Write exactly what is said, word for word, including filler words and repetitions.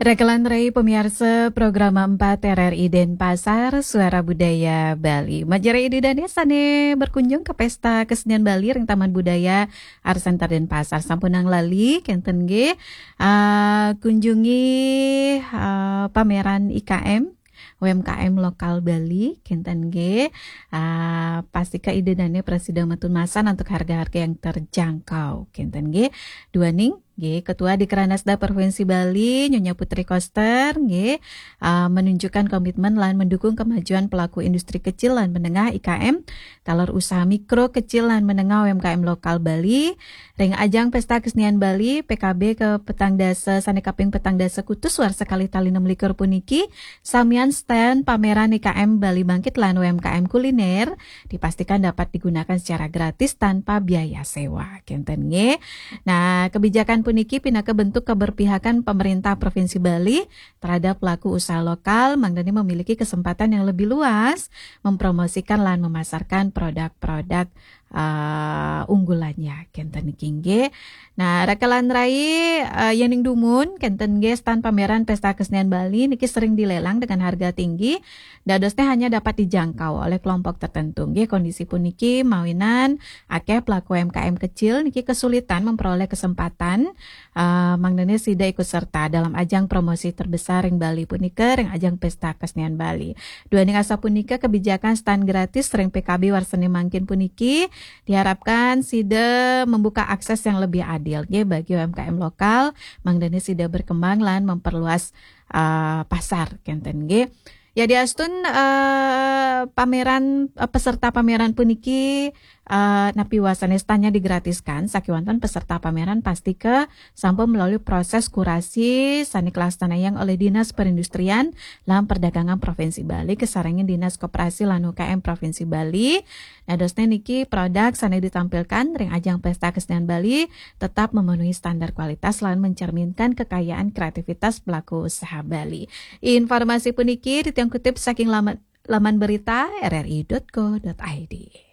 Rekelan rai pamiarsa Programa empat R R I Denpasar, Suara Budaya Bali. Majeng ida dané sané berkunjung ke Pesta Kesenian Bali ring Taman Budaya Art Center Denpasar. Sampunang lali, kénten nggih. Ah, kunjungi, ah, pameran I K M, U M K M lokal Bali, kénten nggih. Ah, pastika ida dané prasida matur masan antuk harga-harga yang terjangkau, kénten nggih. Duaning nggih, Ketua Dikranasda Provinsi Bali, Nyonya Putri Koster, nggih, ah, menunjukkan komitmen lan mendukung kemajuan pelaku industri kecil lan menengah, I K M, taler usaha mikro, kecil lan menengah, U M K M lokal Bali, ring ajang Pesta Kesenian Bali, P K B ke petang dasa, sané kaping petang dasa kutus warsa kalih tali enam likur puniki, samian stand pameran I K M Bali Bangkit lan U M K M Kuliner dipastikan dapat digunakan secara gratis tanpa biaya sewa. Kénten nggih. Nah, kebijakan puniki pinaka bentuk keberpihakan pemerintah Provinsi Bali terhadap pelaku usaha lokal, mangdané memiliki kesempatan yang lebih luas mempromosikan lan memasarkan produk-produk, eh, unggulannya. Kénten niki nggih. Nah, rekelan rai, eh, yéning dumun, kénten nggih, stand pameran Pesta Kesenian Bali niki sering dilelang dengan harga tinggi. Dadosnya hanya dapat dijangkau oleh kelompok tertentu. Nggih, kondisi puniki mawinan akéh pelaku U M K M kecil niki kesulitan memperoleh kesempatan, eh, mangdané sida ikut serta dalam ajang promosi terbesar ring Bali punika, ring ajang Pesta Kesenian Bali. Duaning asapunika, kebijakan stand gratis ring P K B warsané mangkin puniki diharapkan sida membuka akses yang lebih adil nggih bagi U M K M lokal, mangdané sida berkembang lan memperluas, eh, pasar, kénten nggih. Ya, diastun, eh, pameran, eh, peserta pameran puniki, eh, napi wastané stand-nya digratiskan, sakéwanten peserta pameran pastika sampun melalui proses kurasi sané kalaksanayang oleh Dinas Perindustrian lan Perdagangan Provinsi Bali, kasarengin Dinas Koperasi lan U K M Provinsi Bali. Dadosné niki, produk sané ditampilkan ring ajang Pesta Kesenian Bali tetap memenuhi standar kualitas lan mencerminkan kekayaan kreativitas pelaku usaha Bali. Informasi puniki titiang kutip saking laman, laman berita R R I dot co dot I D.